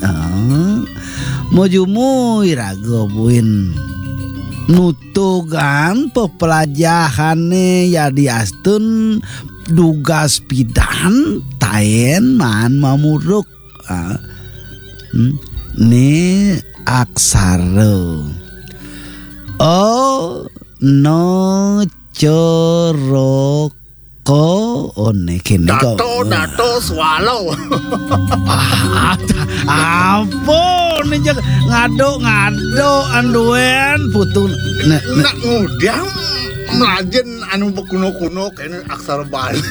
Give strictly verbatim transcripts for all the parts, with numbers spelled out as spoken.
Ah, mujumuy raga buin nutugan pepelajahané ya diastun dugas pidan taén maan mamuruk. Ah, hmm, né aksara. Oh, no, corok. Ko, oh, né kéné ko. Dato, dato, swallow. Ah, apa né, jak ngado-ngado anduén putu. Né, né. Nak ngudang melajin anu bekuno-kuno kéné aksara Bali.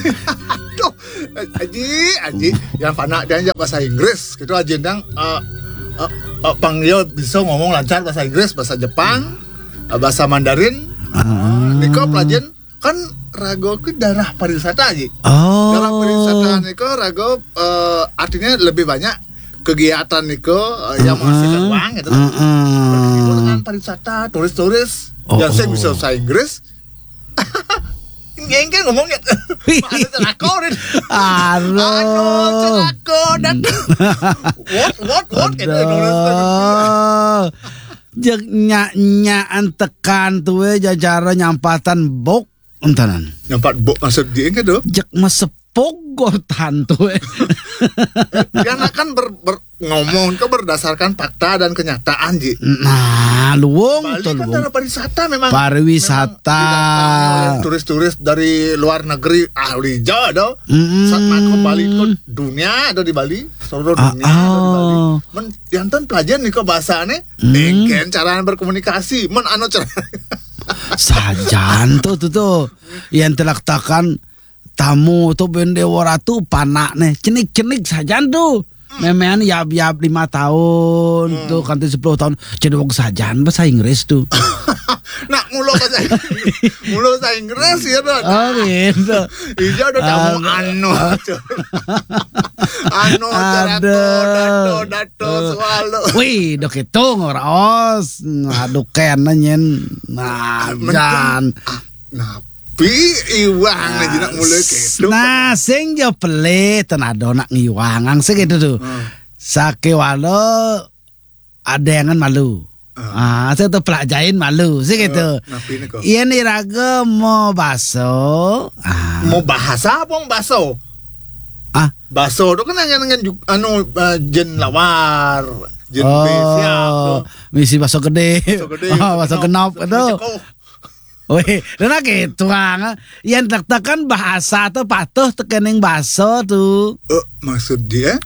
Aduh, Aji, Aji, yang panak dia jak bahasa Inggris, gitu Aji, yang, eh, eh, eh, pang dia bisa ngomong lancar bahasa Inggris, bahasa Jepang, eh, bahasa Mandarin. Ah. Nika pelajin kan raga ke darah pariwisata, Ji. Oh. Darah pariwisata nika raga, eh, artinya lebih banyak kegiatan nika, eh, yang menghasilkan uang gitu kan. Heeh. Berarti itu dengan pariwisata, turis-turis, oh, yang saya bisa bahasa Inggris. Engke ngomongnya. Anu celaka, Rin. Aduh. Anu celaka, dak. What, what, what, gitu, nulis. Aduh. Jek nyak-nyakan tekan tuh, eh, jajaran nyampatan bok. Entanan. Nyampat bok maksud dia kan tuh? Jek mesepok gortan tuh, eh. Dia kan ber-, ber-, ngomong ke berdasarkan fakta dan kenyataan, Ji. Nah, luwung Bali tuh, kan luwung. Daerah pariwisata memang, pariwisata. Memang didatangi oleh turis-turis dari luar negeri, ahli ja ada. Mm-mm. Saat mako Bali ke dunia ada di Bali, seluruh dunia ada di Bali. Ah, ah. Men, jantan pelajaran nih ke bahasane, mm, engken cara berkomunikasi, men anu cara. Sajan tuh, tuh, tuh. Yang telaktakan tamu tuh ben dewa ratu panakne, cenik-cenik sajan tuh. Memean yab-yab lima tahun, hmm, tuh, kanti sepuluh tahun, cedok sajan bahasa Inggris tuh. Nak mulo bahasa Inggris. Mulo bahasa Inggris ya tuh. Oh, gitu. Iya udah tamu anu. Anu, aduh. Dato, dato, dato, eh, swallow. Wih, dok itu ngeraos. Aduh, kena nyen. Nah, mending, jan. Ah, nah, Pi iwang aja nak mulai kedo. Nah, sing ja pelih, ten ada nak ngiwang, ang sing gitu tuh. Hmm. Sakéwala ada yang malu. Hmm. Ah, saya tuh pelajain malu, sing gitu. Eh, napi nih kok? Iya nih raga mau baso. Ah. Mau bahasa apa mau baso? Ah. Baso tuh kan hanya dengan ju-, anu, eh, jen lawar, jen, oh, besiak tuh. Misi baso gede. Baso gede, oh, baso genop, baso genop itu. Baso ceko. Wih, dan lagi tuang, yang tak-takan bahasa tuh patuh tekening baso tuh. Eh, maksud dia?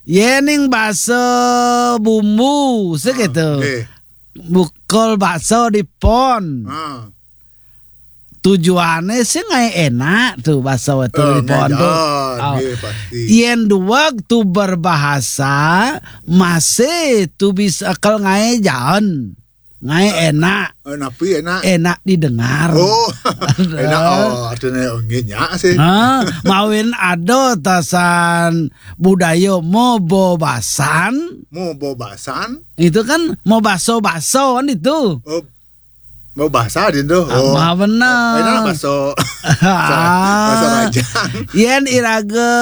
Yening baso bumbu, segitu. Ah, eh. Bukul baso di pon. Ah. Tujuannya sih ngai enak tuh baso itu, eh, di pon tuh. Ngai jalan, oh. Iya, pasti. Yen duweg tuh berbahasa, masih tuh bisa kel ngai jalan. Ngai enak. Eh, napi enak? Enak didengar. Oh, enak. Oh, artinya, oh, nggih, nyak sih. Ah, mawin ada tasan budaya mobobasan. Mobobasan? Itu kan mau baso-baso kan itu. Oh, mau bahasa di itu. Oh. Apa benar? Enak baso. Bahasa Rajang. Yen iraga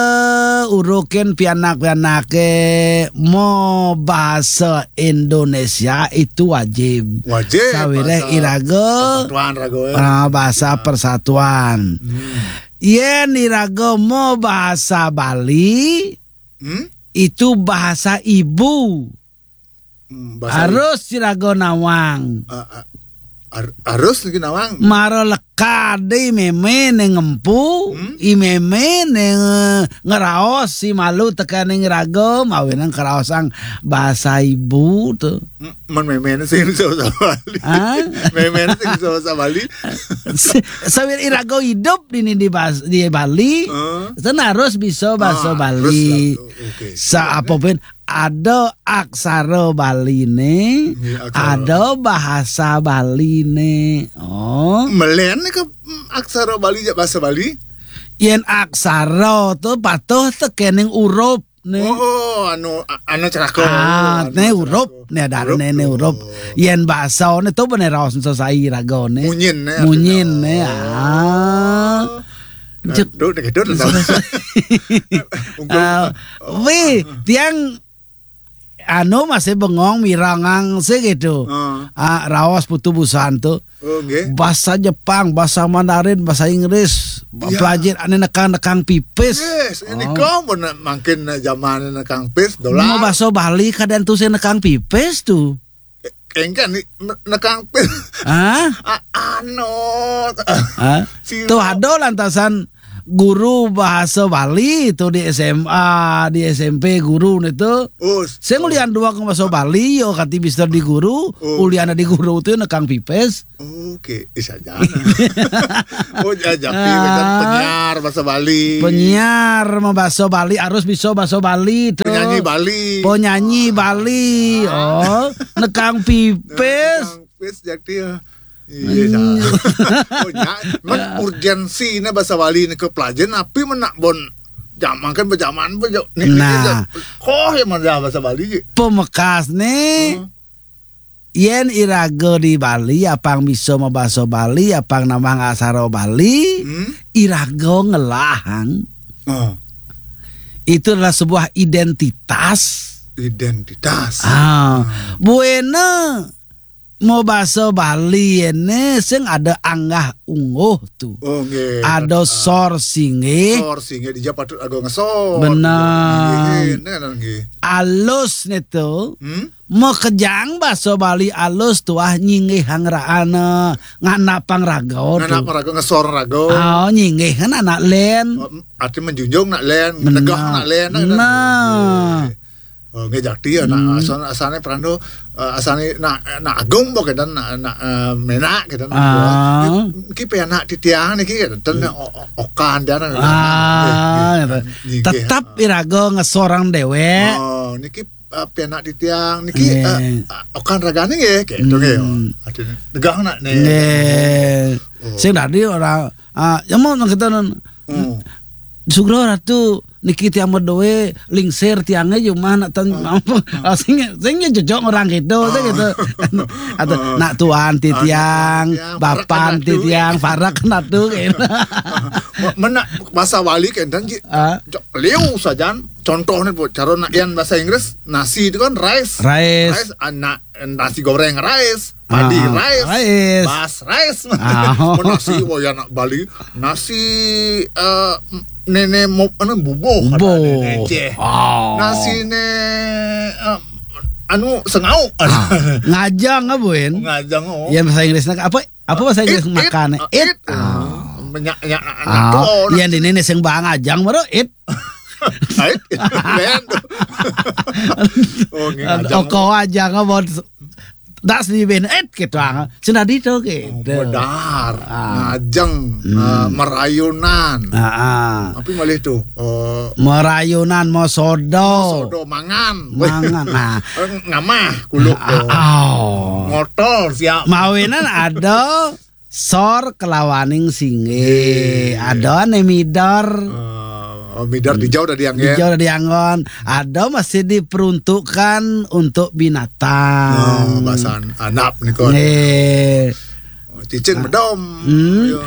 urukin pianak-pianake mau bahasa Indonesia itu wajib. Wajib, bahasa iraga persatuan, raga, eh. Ah, bahasa persatuan. Hmm. Yen iraga mau bahasa Bali, hmm? Itu bahasa ibu. Hmm, bahasa harus iraga nawang. Ah, ah, har-, harus niki nawang. Mara lekade meme ne ngempu, hmm? I meme ne nge-, ngeraos si malu tekaning raga, mawinan keraosang bahasa ibu tuh. M-, men meme ne sing bisa bahasa Bali. Hah? Meme ne sing bisa bahasa Bali. Sawir iraga hidup di, di, di Bas-, di Bali, heeh, ten harus bisa bahasa Bali. Ah, harus lah tuh. Oke. Sa-, apa pun ada aksara Baline, nggih, aksara. Ada bahasa Baline. Oh. Melen ke, mm, aksara Bali, ya, bahasa Bali? Yen aksara tuh patuh tekening urup nih. Oh, oh, anu, a-, anu celaka. Ah, oh, anu nih urup, celaka. Nih ada nih, nih urup. Yen bahasa nih tuh bener raos sesai raga nih. Munyin nih, munyin artinya. Nih, ah. Oh. Cek. Aduh, dek, aduh, aduh. Ah, wih, tiang anu masih bengong mirengang sih gitu. Ah, raos putu busan tuh. Oh, nggih. Bahasa Jepang, bahasa Mandarin, bahasa Inggris, iya, pelajar anu nekang-nekang pipis. Yes, ini kau pun mangkin zaman nekang pis, dolar. Mau bahasa Bali kadang tuh saya nekang pipis tuh. Engke nih, ne-, nekang pis. Hah? A-, anu. Hah? Tuh ada lantasan guru bahasa Bali itu di S M A, di S M P guru itu. Oh, saya ngulian dua ke bahasa Bali, yo kati bisa di guru, oh, ulian di guru itu nekang pipis. Oke, bisa aja. Oh, ya, jadi penyiar bahasa Bali. Penyiar mau bahasa Bali harus bisa bahasa Bali tuh. Penyanyi Bali. Penyanyi Bali. Oh, nekang pipis. Nekang pipis jadi ya. Iya, oh, ya, men urgensi ini bahasa Bali ini ke pelajaran, tapi menak bon zaman kan berjaman, berjo-, nih, nih, nah, oh, yang mana bahasa Bali? Pemekas nih. Hmm. Yen iraga di Bali, apang bisa mabasa Bali, apang nambah ngasara Bali, hmm, iraga ngelahang. Oh. Itu adalah sebuah identitas. Identitas. Ah, hmm, buena mau basa Bali ini sing ada anggah ungguh tuh. Oh, nggih. Ada, ah, sor singgih. Sor singgih, dia patut ada ngesor. Benar. Nggih, nggih, nggih. Alus nih tuh. Hmm? Makejang basa Bali alus tuah nyinggihang ra-, anu, nganapang raga tu. Nganapang raga, ngesor raga. Ah, nyinggih kan anak len. Oh, arti menjunjung nak len, benar, negah nak len, nak, nah. Nggih. Oh, nggih, jati ya, nak, hmm, asal, asalnya perando, eh, asalnya nak, nak agung bo kedan, nak, nak, eh, menak kedan. Ah. Niki pe anak titiang niki kedan, hmm, o-, o-, okan dia, nak, ah, nggih, nggih. Tetap iraga ngesorang dewek. Oh, niki eh, pianak titiang niki, nggih, eh, eh, okan ragane nggih, kayak itu nggih. Hmm. Artinya, negah nak nih. Nggih. Oh. Sing tadi orang, ah, yang mau nang kita nun, hmm, Sugro Ratu niki tiang berdoe lingsir tiangnya cuma nak tan, ah, apa? Ah, sing, sing ya cocok orang gitu, sing gitu. Atau, ah, nak tuan titiang, ah, nak tuan titiang, bapan parak titiang, parak natu gitu. Menak bahasa Bali kan dan ji-, ah, jok liu sajan. Contohnya, Bu, cara nak yang bahasa Inggris, nasi itu kan rice. Rice. Rice, anak, nasi goreng rice, padi, ah, rice, rice, bas rice. Ah. Mun nasi, wah, ya, nak Bali, nasi, eh, nene mo-, anu, bubuh, bubuh. Ada nene Aceh. Oh. Nasi ne, eh, anu, sengau. Ah. Ngajang apa, Win? Ngajang, oh. Ya, bahasa Inggrisnya apa? Apa bahasa Inggris it, it, makan? It. It. Ah. Menyak, nyak, ah, nyak, oh, iya, di nene sing bang ajang, baru it. Ait, ben. Oh, nggih, ngajeng. Oko aja ngebon das di ben, et, gitu, ah. Sudah di itu, gitu. Oh, bedar, ah, ngajeng, hmm, eh, merayunan. Ah, ah. Tapi malih tuh, eh, merayunan, mosodo. Mosodo, mangan. Mangan, nah. Eh, ngamah, kuluk, ah, tuh. Oh. Ngotol, siap. Mawinan ada sor kelawaning singgih. Nggih. Ada nih midar. Eh, oh, midar, hmm, dijau udah dianggen. Dijau udah dianggon. Ada masih diperuntukkan untuk binatang. Oh, bahasan anap nih, kon. Nggih. Oh, cicing, ah, bedom. Hmm. Iya.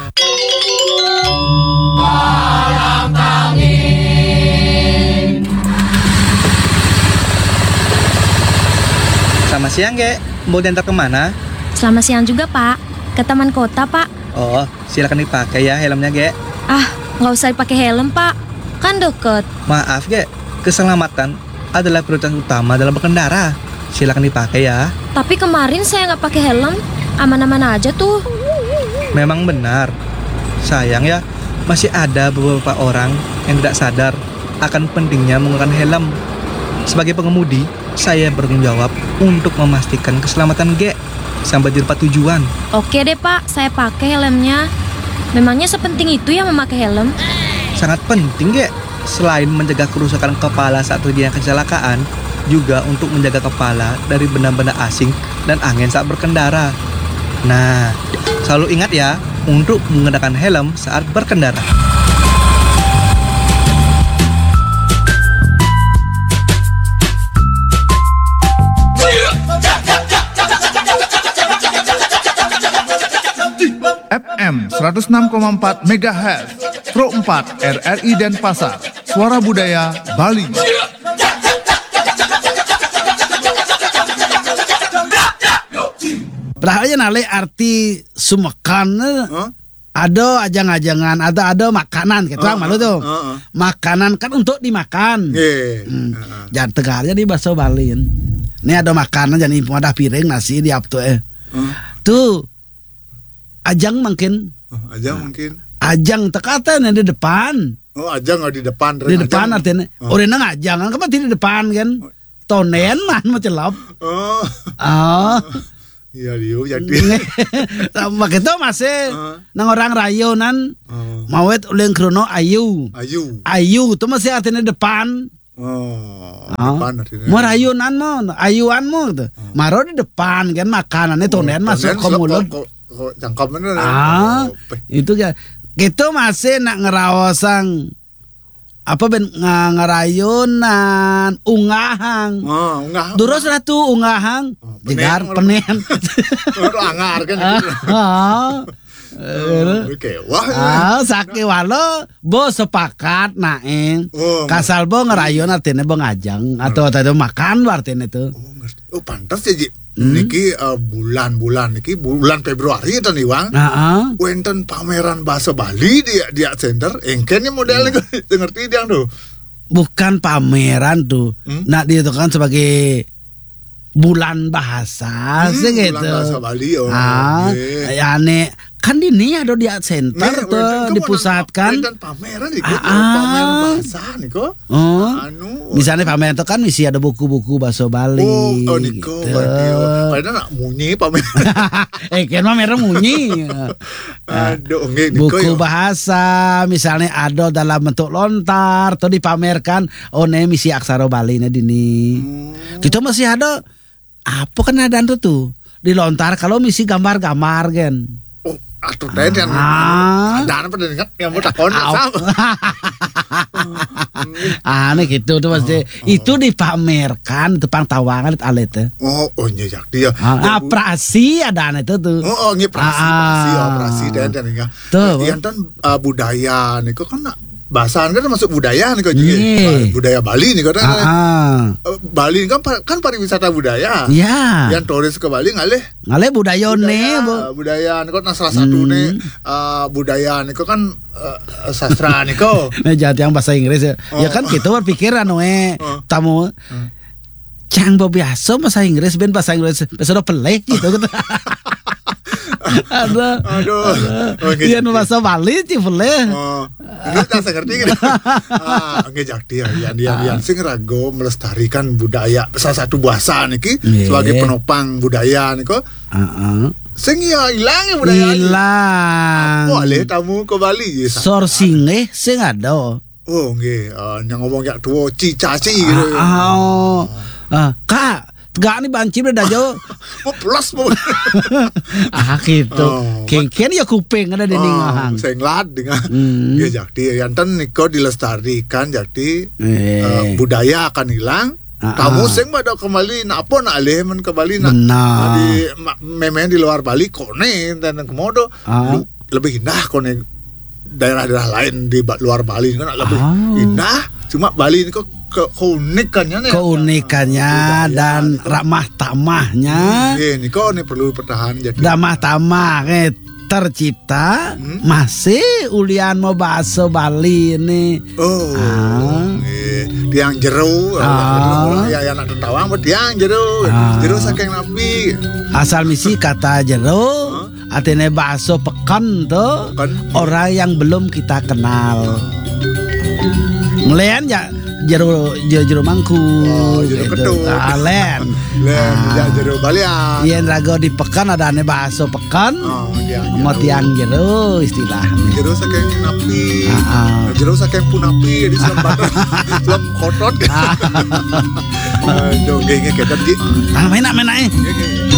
Selamat siang, Gek. Mau diantar kemana? Selamat siang juga, Pak. Ke taman kota, Pak. Oh, silakan dipakai ya helmnya, Gek. Ah, nggak usah dipakai helm, Pak. Kan deket. Maaf, Gek. Keselamatan adalah prioritas utama dalam berkendara. Silakan dipakai ya. Tapi kemarin saya nggak pakai helm, aman-aman aja tuh. Memang benar. Sayang ya, masih ada beberapa orang yang tidak sadar akan pentingnya menggunakan helm. Sebagai pengemudi, saya bertanggung jawab untuk memastikan keselamatan Gek sampai di tempat tujuan. Oke deh, Pak, saya pakai helmnya. Memangnya sepenting itu ya memakai helm? Sangat penting, Gek. Selain menjaga kerusakan kepala saat terjadi kecelakaan, juga untuk menjaga kepala dari benda-benda asing dan angin saat berkendara. Nah, selalu ingat ya, untuk mengenakan helm saat berkendara. F M seratus enam koma empat megahertz, Pro empat R R I Denpasar, Suara Budaya Bali. Nalih arti sumekan, eh, ada ajang-ajangan, ada, ada makanan gitu, ah, malu tuh. Ah, ah. Makanan kan untuk dimakan. Nggih. Hmm. Ah, ah. Jangan tegar jadi bahasa Bali. Ini ada makanan, jadi wadah piring, nasi di aptu, eh. Ah. Tuh, ajang mungkin. Ah, ajang mungkin. Ajang tekatan yang di depan. Oh, ajang di depan, di depan artinya. Oh. Orang nang ajang, kan di depan kan. Oh. Tonden mah, mah celap. Oh. Oh. Iya, liu jadi. Sama kita masih nang orang rayunan, oh, mawet uling krono ayu. Ayu. Ayu tuh masih artinya depan. Oh, oh, depan artinya. Mau rayunan mau, ayuan mau gitu. Oh. Maro di depan kan makanannya tonden masuk ke mulut. Kok, kok cangkemnya, ah, oh, itu ya. Kita masih nak ngeraosang apa ben nga-, ngerayunan, ungahang. Oh, ungahang. Durus ratu ungahang. Oh, jegar penen. Udah angar kan gitu. Ah. Oh, oke. Wah. Ah, sakit walau bo sepakat naeng. Oh, kasal bo ngerayun artinya bo ngajang atau tadi makan artinya itu. Oh, ngerti. Oh, pantas ya, Ji. Hmm. Niki, eh, bulan-bulan niki, bulan Februari ten Iwang. Heeh. Wenten pameran bahasa Bali di, di Art Center. Engken nih model niku, ngerti dia tuh. Bukan pameran tuh. Hmm? Nah, dia itu kan sebagai bulan bahasa, hmm, sih bulan gitu. Bahasa Bali, oh, ah, oke. Ya, aneh. Kan di ini ada di Art Center tuh, wenten kan dipusatkan. Wenten pameran itu, ah, pameran bahasa niku. Oh. Anu. Misalnya pameran itu kan misi ada buku-buku bahasa Bali. Oh, oh, niku gitu. Berarti, oh. Padahal nak munyi pameran. Eh, kan mah merah munyi. Nah, aduh, nggih, niku buku ya. Bahasa, misalnya ada dalam bentuk lontar atau dipamerkan, oh, nih misi aksara Bali nih dini. Hmm. Kita masih ada apa kan ada tuh, tuh? Di lontar kalau misi gambar-gambar kan. Oh, atuh teh yang ah. Ada apa dengan yang mau takon sama. Aneh gitu tuh pasti. Oh, oh. Itu dipamerkan depan tawangan alit teh. Oh, oh, iya, ya, dia. Ah, ya, ah, prasi ada aneh tuh tuh. Oh, oh, ini prasi, ah, prasi, oh, prasi dan dan ya. Tuh. Yang ten, eh, budaya niku kan nak bahasa kan termasuk budaya niku juga. Iya. Budaya Bali niku kan. Ah, ah. Eh, Bali kan pa-, kan pariwisata budaya. Iya. Yang turis ke Bali ngalih. Ngalih budaya nih, budaya, Bu. Budaya niku nah salah satu nih, eh, budaya niku kan, eh, sastra niku. Nah, jadi yang bahasa Inggris ya. Oh. Ya kan kita berpikir anu eh, oh, tamu. Hmm. Cang biasa bahasa Inggris, ben bahasa Inggris, bahasa udah peleh gitu. Ada. Aduh. Oke, iya, jadi bahasa Bali sih peleh. Oh, ini tak ngerti gitu. Ah, oke, jadi ya, yang, yang, yang sing rago melestarikan budaya, salah satu bahasa niki, iya, sebagai penopang budaya niku. Heeh. Sing ya hilang ya budaya. Hilang. Apa alih tamu ke Bali ya, sourcing eh sing ada. Oh, nggih, eh, yang ngomong yak tua, cicaci gitu. Ah, ah, oh. Ah, Kak, tegak nih banci udah dah jauh. Oh, plus, Bu. Ah, gitu. Oh, kengken ya kuping ada di ningahang. Sing lad dengan. Hmm. Ya, jadi, yang ten niko dilestarikan, jadi, eh, budaya akan hilang. Ah, tamu ah. Sing pada kembali, nak apa nak alih men kembali nak. Benar. Di ma-, memang di luar Bali kone dan komodo. Ah. Lu-, lebih indah kone daerah-daerah lain di ba-, luar Bali kan lebih indah. Cuma Bali ini kok ke-, keunikannya nih. Keunikannya budaya dan ramah tamahnya. Iya, ini kok ini perlu pertahanan jadi. Ramah tamah, eh, tercipta masih ulian mau bahasa Bali ini. Oh, ah. Iya. Tiang jero, ah. Ya, ya, anak tentawang, tiang jero. Ah. Jero saking nabi. Asal misi kata jero, artinya bahasa peken tuh, peken. Orang yang belum kita kenal. Ngelian ya jero, jero, jero mangku. Oh, jero gitu. Ketuk. Ah, len. Len, ah. Ya jero balian. Yen rago di peken ada ane bahasa peken. Oh, iya, mau jero. Tiang jero istilah. Jero saking napi. Ah, ah. Jero saking punapi, jadi selem badan, selem kotot. Ah. Aduh, nggih, nggih, kedan, Ji. Ah, main nak, main nak, eh. Nggih, nggih.